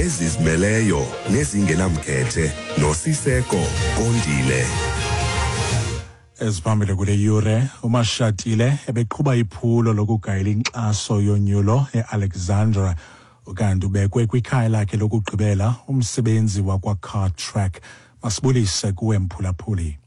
Ezizimeleyo nezingenamkhethe noSiseko Kondile. Eziphambili kule yure, uMashatile ebeqhuba iphulo lokugayela inkxaso yonyulo eAlexandra, ukanti ubekwe kwikhaya lakhe lokugqibela umsebenzi wakwaCartrack. Masibulise kuwe, mphulaphuli.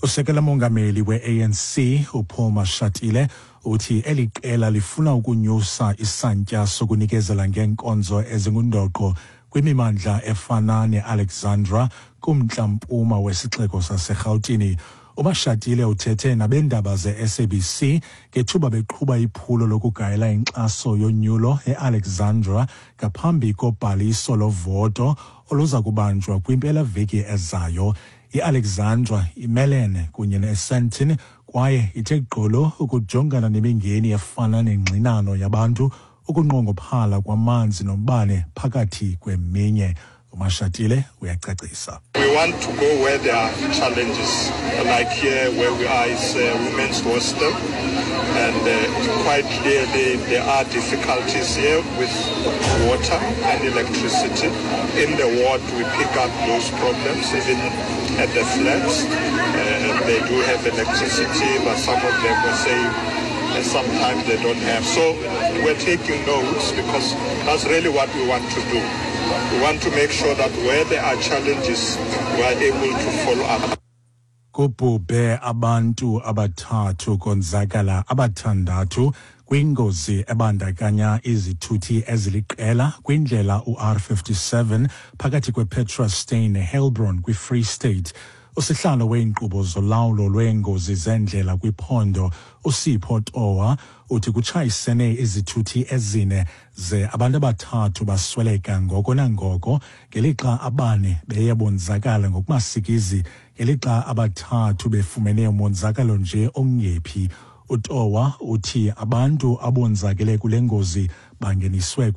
Usekela mongameli we-ANC uPaul Mashatile uthi eli qela lifuna ukunyusa isantya sokunikezela ngeenkonzo ezingundoqo kwimimandla efana neAlexandra kumntla-mpuma wesixeko saseRhawutini. UMashatile uthethe nabendaba ze-SABC ngethuba beqhuba iphulo lokugayela inkxaso yonyulo eAlexandra ngaphambi kobhaliso lovoto oluza kubanjwa kwimpelaveki ezayo. IAlexandra imelene kunye neSandton kwaye ithe gqolo ukujongana nemingeni efana nengxinano yabantu, ukunqongophala kwamanzi nombane, phakathi kweminye. UMashatile uyacacisa. We want to go where there are challenges, like here where we are is a women's hostel, and quite clearly there are difficulties here with water and electricity. In the ward we pick up those problems, even at the flats. They do have electricity, but some of them were saying sometimes they don't have. So we're taking notes because that's really what we want to do. We want to make sure that where there are challenges, we are able to follow up. Kubhubhe abantu abathathu, konzakala abathandathu kwingozi ebandakanya izithuthi eziliqela kwindlela uR57 phakathi kwePetrus Steyn neHeilbron kwiFree State. Usihlalo weenkqubo zolawulo lweengozi zendlela kwiphondo, uSipho Towa, uthi kutshayisene izithuthi ezine ze abantu abathathu basweleka ngoko nangoko, ngelixa abane beye bonzakala ngokumasikizi, ngelixa abathathu befumene umonzakalo nje ongephi. UTowa uthi abantu abonzakele kule ngozi bangeniswe.